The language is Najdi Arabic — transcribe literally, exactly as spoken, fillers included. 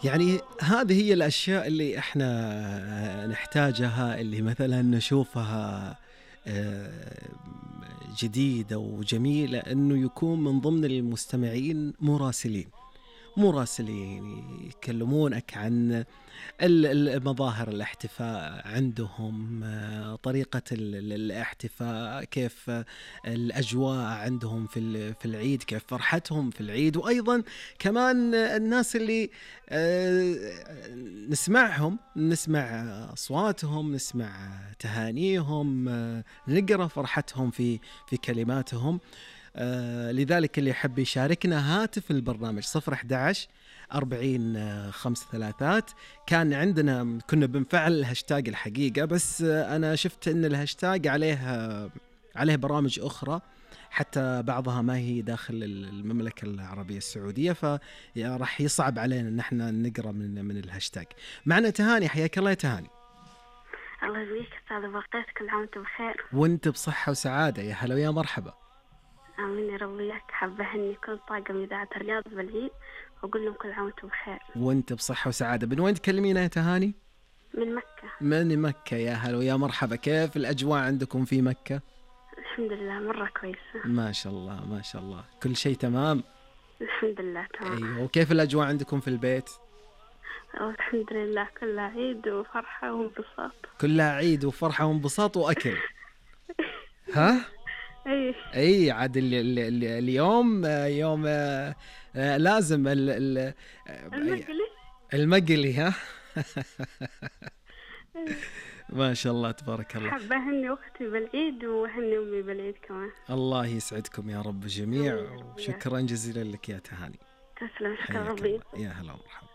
يعني هذه هي الأشياء اللي إحنا نحتاجها، اللي مثلا نشوفها آه، جديدة وجميلة، أنه يكون من ضمن المستمعين مراسلين مراسلين يكلمونك عن ال- المظاهر الاحتفاء عندهم، آه، طريقة ال- ال- الاحتفاء، كيف آه، الأجواء عندهم في ال- في العيد، كيف فرحتهم في العيد. وأيضا كمان آه، الناس اللي آه، نسمعهم، نسمع أصواتهم، نسمع تهانيهم، آه، نقرأ فرحتهم في في كلماتهم. آه، لذلك اللي يحب يشاركنا هاتف البرنامج صفر أحد عشر أربعين آه، خمس ثلاثات. كان عندنا كنا بنفعل الهاشتاج الحقيقة، بس آه، أنا شفت أن الهاشتاج عليه آه، عليه برامج أخرى، حتى بعضها ما هي داخل المملكة العربية السعودية، فراح يصعب علينا أن احنا نقرأ من من الهاشتاج. معنا تهاني، حياك الله يا تهاني. الله يبارك أستاذ بقيت، كل عام وأنتم بخير. وانت بصحة وسعادة، يا هلا ويا مرحبا. آمين يا رب وياك. حابة أهني كل طاقم إذاعة الرياض بالعيد وأقول لهم كل عام وأنتم بخير. وانت بصحة وسعادة. من وين تكلمينا يا تهاني؟ من مكة. من مكة، يا هلا ويا مرحبا. كيف الأجواء عندكم في مكة؟ الحمد لله مرة كويسة. ما شاء الله ما شاء الله، كل شيء تمام. الحمد لله تمام. أيوة. وكيف الأجواء عندكم في البيت؟ الحمد لله كلها عيد وفرحة وانبساط. كلها عيد وفرحة وانبساط وأكل. ها؟ أي أي عاد ال ال ال اليوم يوم آه، آه، لازم ال ال المقلي. المقلي. ها؟ ما شاء الله تبارك الله. حابة أهني أختي بالعيد وأهني أمي بالعيد كمان. الله يسعدكم يا رب جميع، آمين. وشكرا جزيلا لك يا تهاني. تسلم، شكرا حياك ربي. الله. يا هلا ومرحبا.